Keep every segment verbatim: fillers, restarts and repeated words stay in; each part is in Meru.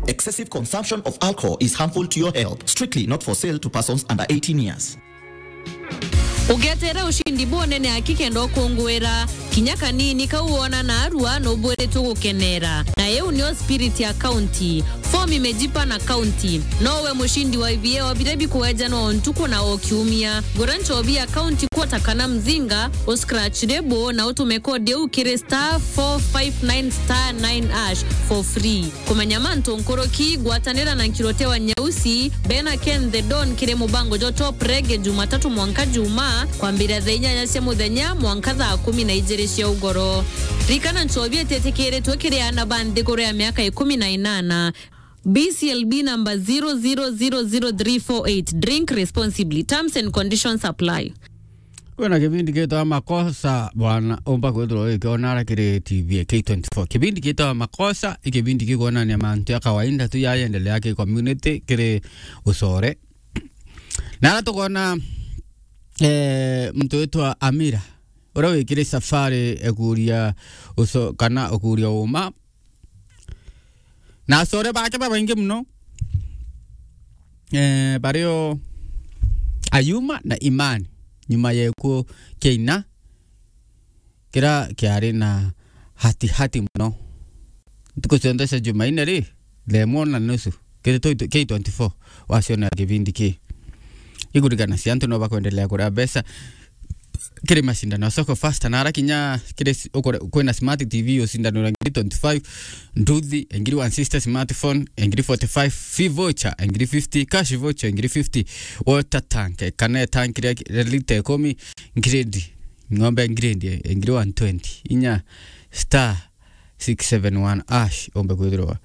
Excessive consumption of alcohol is harmful to your health. Strictly not for sale to persons under eighteen years. Ugetere ushindi bunene aki kenda ukungwira kinya kanini kau wona narua nubwiritwe gukenera. Na iu nio spirit ya county. Form imejipa na county. Nowe mushindi wa ibieo biria bikuejanwa o ntuku na o kiumia. Gura nchobi ya county quarter kana mzinga, u scratch label na utume kodi iu kiri star four five nine star nine hash for free. Kumenya mantu nkuruki, gwatanira na Nkirote wa Nyausi, bena Ken the Don kiri mubango jwa Top Reggae Jumatatu mwanka Juma, kwambira thaa inyanya cia muthenya mwanka thaa kumi na ijiri cia ugoro. Rikana nchobi ititikiritwe kiri aana ba nthiguru ya miaka ikumi na inana. B C L B number zero zero zero zero three four eight. Drink responsibly. Terms and conditions apply. Kwina kibindi gitwa Makosa, bwana, umba kwithirwa ugikiona ara kiri T V ya K twenty-four. Kibindi gitwa Makosa, i kibindi gikwonania mantu ya kawaida tu yayendelea ki community, kiri Ucore. Na ara tukwona, eh, muntu witwa Amira, uria wikire safari ya kuria uco-, kana ukuria uma, na acore bake babaingi muno, eh, bario Ayuma na Imani, nyuma ya gikuo kia ina, kira kiari na hatihati muno. Ntuku cionthe cia Jumaine ri, thaa imwe na nusu, kiri K twenty-four, wacionera kibindi ki. Ikurikana cia antu no bakwendelea kuria mbeca kiri mashindano ya Soko Fasta, na ara kinya kiri s-, ukore-, kwina smart T V ucindanira ngiri twenty-five, nduthi, ngiri one sixty, smartphone, ngiri forty-five, fee voucher, ngiri fifty, cash voucher, ngiri fifty, water tank, kana tank ria, ria lita ikumi, grade, ng'ombe grade, ngiri one twenty, inya star six seven one hash, umbe kwithirwa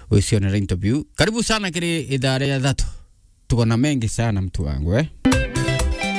wicionera into biu. Karibu sana kiri ithaa ria thatu. Tuko na mengi sana, mtu wangu, eh?